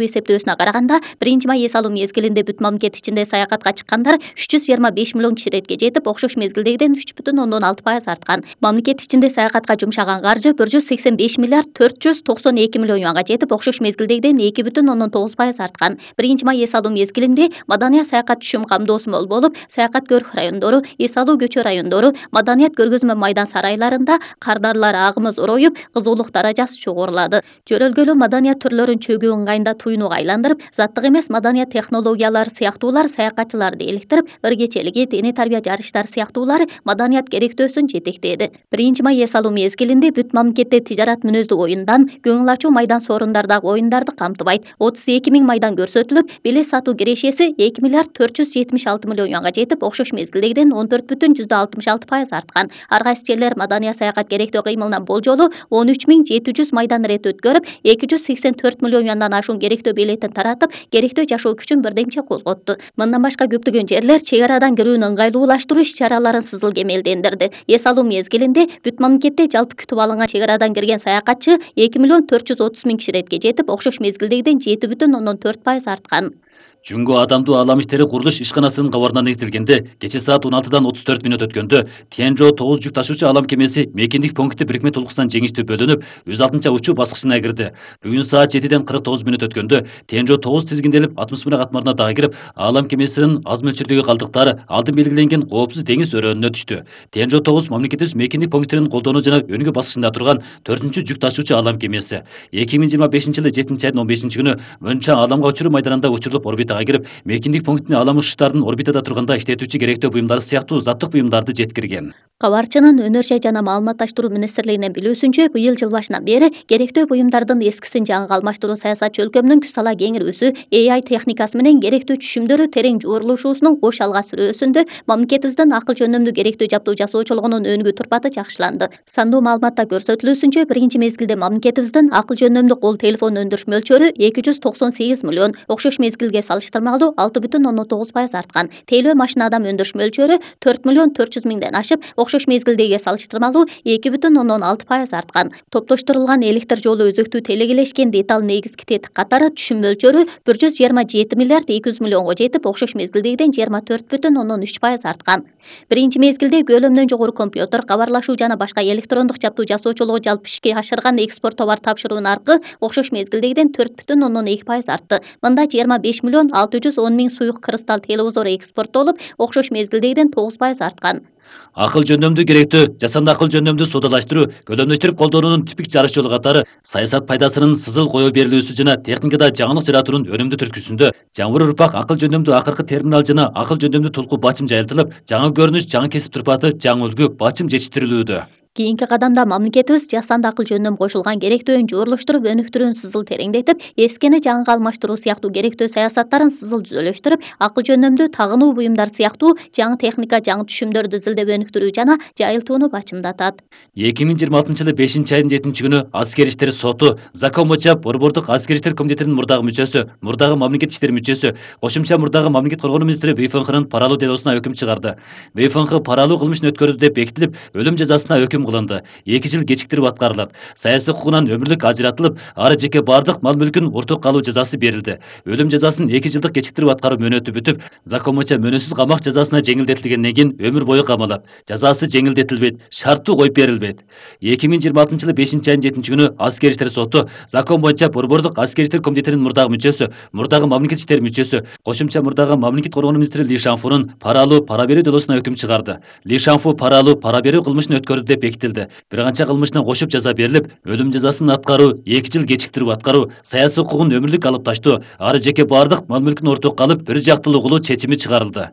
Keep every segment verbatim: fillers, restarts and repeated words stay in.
эсептөөсүнө караганда биринчи май эс алуу мезгилинде бүт мамлекет ичинде саякатка чыккандар үч жүз жыйырма беш миллион киши иретке жетип, окшош мезгилдегиден үч бүтүн ондон алты пайыз арткан. Мамлекет ичинде саякатка жумшаган каржы бир жүз сексен беш миллиард төрт жүз токсон эки миллион юанга жетип, окшош мезгилдегиден эки бүтүн ондон тогуз пайыз арткан. биринчи май эс алуу мезгилинде маданият саякат түшүм камдоосу мол болуп, саякат көрк райондору, эс алуу көчө райондору, маданият көргөзмө майдан сарайларында кардарлар агымы зороюп, кызуулук даражасы чогорулады. Жөрөлгөлүү маданият түрлөрүн чөгүү ыңгайында туюнууга айландырып, заттык эмес маданият технологиялары сыяктуулар саякатчыларды эликтирип, ыргечелиги, дене тарбия жарыштары сыяктуулары маданият керектөөсүн жетектеди. биринчи май эс алуу мезгилинде бүт мамлекетте тижарат мүнөздүү оюндан, көңүл ачуу майдан соорундардагы оюндарды камтыбайт. отуз эки миң майдан көрсөтүлүп, билет сатуу кирешеси эки миллиард төрт жүз жетимиш алты миллион юанга жетип, окшош мезгилдегиден он төрт бүтүн жүздө алтымыш алты пайыз арткан. Ар кайсы жерлер маданият саякат керектөө кыймылынан болжолу он үч миң жети жүз майдан ирет өткөрүп, эки жүз сексен төрт миллион юандан ашуун керектөө билетин таратып, керектөө жашоо күчүн бирдемче козготту. Мындан башка көптөгөн жерлер чек арадан кирүүнү ыңгайлуулаштыруу иш-чараларын сызыл кемелдендирди. Эс алуу мезгилинде бүт мамлекетте жалпы күтүп алынган чек арадан кирген саякатчы эки миллион төрт жүз отуз миң киши иретке жетип, окшош мезгилдегиден жети бүтүн ондон төрт пайыз арткан. Жүнгө адамдуу аалам иштери курулуш ишканасынын кабарына негизделгенде кече саат он алтыдан отуз төрт мүнөт өткөндө Тянжо тогуз жүк ташуучу алам кемеси мекендик пункти бирикме толкусунан жеңиштүү бөлүнүп, өз алдынча учуу баскычына кирди. Бүгүн саат жетиден кырк тогуз мүнөт өткөндө Тянжо тогуз тизгинделип, атмосфера катмарына дагы кирип, алам кемесинин аз мөлчөрдөгү калдыктары алдын белгиленген коопсуз деңиз өрөөнүнө түштү. Тянжо тогуз мамлекетибиз мекендик пункттерин колдонуу жана өнүгүү баскычында турган төртүнчү жүк ташуучу алам кемеси. эки миң жыйырма бешинчи жылы жетинчи айдын он бешинчи күнү Мөнча аламга учуруу майданында учурулуп орбитага кирип, мекендик пункттин алам учуштарынын орбитада турганда иштетүүчү керектөө буюмдары сыяктуу заттык буюмдарды жеткирген. Кабарчынын өнөр жай жана маалыматташтыруу министрлигинин билүүсүнчө, быйыл жыл башынан бери керектөө буюмдардын эскисин жаңыга алмаштыруу саясатчы өлкөмдүн күч сала кеңирүүсү, A I техникасы менен керектүү түшүмдөрү терең жуурулушуусунун кош алга сүрөөсүндө мамлекетибиздин акыл жөндөмдүү керектүү жабдуу жасоочулугунун өнүгүү турпаты жакшыланды. Сандуу маалыматта көрсөтүлүүсүнчө, биринчи мезгилде мамлекетибиздин акыл жөндөмдүү кол телефон өндүрүш мөлчөрү эки жүз токсон сегиз миллион, окшош мезгилге салыштырмалуу алты бүтүн ондон тогуз пайыз арткан. Тейлөө машина адам өндүрүш мөлчөрү төрт миллион төрт жүз миңден ашып, окшош мезгилдеги салыштырмалуу эки бүтүн ондон алты пайыз арткан. Топтоштурулган электр жолу өзөктүү телегелешкен деталь негизги тетик катары түшүм мөлчөрү бир жүз жыйырма жети миллиард эки жүз миллионго жетип, окшош мезгилдегиден жыйырма төрт бүтүн ондон үч пайыз арткан. Биринчи мезгилде көлөмдөн жогору компьютер, кабарлашуу жана башка электрондук жабдуу жасоочулугу жалпы ишке ашырган экспорт товар тапшыруу наркы окшош мезгилдегиден төрт бүтүн ондон эки пайыз артты. Мында жыйырма беш миллион алты жүз он миң суюк кристалл телевизору экспорттолуп, окшош мезгилдегиден тогуз пайыз арткан. Акыл жөндөмдүү керектөө жасанды акыл жөндөмдүү соодалаштыруу, көлөмдөштүрүп колдонуунун типик жарыш жолу катары саясат пайдасынын сызыл кое берилүүсү жана техникада жаңылык жаратуунун өнүмдүү түрткүсүндө жаңбыр урпак акыл жөндөмдүү акыркы терминал жана акыл жөндөмдүү тулку бачым жайылтылып, жаңы көрүнүш, жаңы кесип турпаты, жаңы үлгү бачым жетиштирилүүдө. Кийинки кадамда мамлекетибиз жасанды акыл жөндөм кошулган керектөөн жуурлуштуруп, өнүктүрүүнү сызыл тереңдетип, эскини жаңыга алмаштыруу сыяктуу керектөө саясаттарын сызыл түзөлөштүрүп, акыл жөндөмдүү тагынуу буюмдар сыяктуу жаңы техника, жаңы түшүмдөрдү изилдеп өнүктүрүү жана жайылтууну бачымдатат. эки миң жыйырма алтынчы жылы бешинчи айдын жетинчи күнү Аскер иштери соту Закон боюнча Борбордук Аскер иштер комитетинин мурдагы мүчөсү, мурдагы мамлекет иштери мүчөсү, кошумча мурдагы мамлекет коргонуу министри ВФНХнын паралуу делосуна өкүм чыгарды. ВФНХ паралуу кылмышын өткөрдү деп бекитилип, өлүм жазасына өкүм кылынды. эки жыл кечиктирип аткарылат. Саясий хукугунан өмүрлүк ажыратылып, ары жеке бардык мал мүлкүн орток калуу жазасы берилди. Өлүм жазасын эки жылдык кечиктирип аткаруу мөөнөтү бүтүп, закон боюнча мөөнөтсүз камак жазасына жеңилдетилгенден кийин өмүр бою камалат. Жазасы жеңилдетилбейт, шарттуу коюп берилбейт. эки миң жыйырма алтынчы жылы бешинчи айдын жетинчи күнү Аскер иштер соту закон боюнча Борбордук Аскер иштер комитетинин мурдагы мүчөсү, мурдагы мамлекет иштери мүчөсү, кошумча мурдагы мамлекет коргонуу министри Ли Шанфунун паралуу пара берүү делосуна өкүм чыгарды. Ли Шанфу паралуу пара берүү кылмышын өткөрдү деп бекитилди. Бир канча кылмышына кошуп жаза берилип, өлүм жазасын аткаруу, эки жыл кечиктирип аткаруу, саясий хукугун өмүрлүк алып таштоо, ары жеке бардык мал мүлкүн орток калып, бир жактылуу кылуу чечими чыгарылды.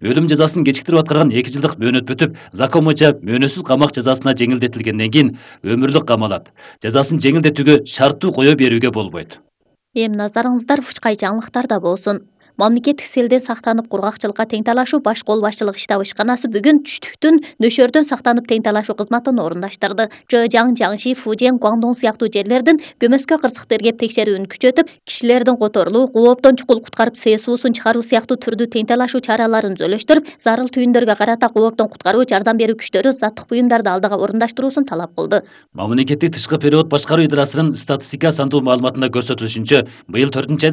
Өлүм жазасын кечиктирип аткарган эки жылдык мөөнөт бүтүп, закон боюнча мөөнөтсүз камак жазасына жеңилдетилгенден кийин өмүрлүк камалат. Жазасын жеңилдетүүгө шарттуу кое берүүгө болбойт. Эми назарыңыздар ушкай жаңылыктарда болсун. Мамлекеттик селден сактанып кургакчылыкка тең талашуу баш кол башчылык штаб ишканасы бүгүн түштүктүн нөшөрдөн сактанып тең талашуу кызматын орундаштырды. Жыжаң, Жаңши, Фужен, Гуандон сыяктуу жерлердин көмөскө кырсык тергеп текшерүүнү күчөтүп, кишилердин которулуу, кооптон чукул куткарып сеесуусун чыгаруу сыяктуу түрдүү тең талашуу чараларын түзөлөштүрүп, зарыл түйүндөргө карата кооптон куткаруу, жардам берүү күчтөрү заттык буюмдарды алдыга орундаштыруусун талап кылды. Мамлекеттик тышкы период башкаруу идарасынын статистика сандуу маалыматында көрсөтүлүшүнчө, быйыл төртүнчү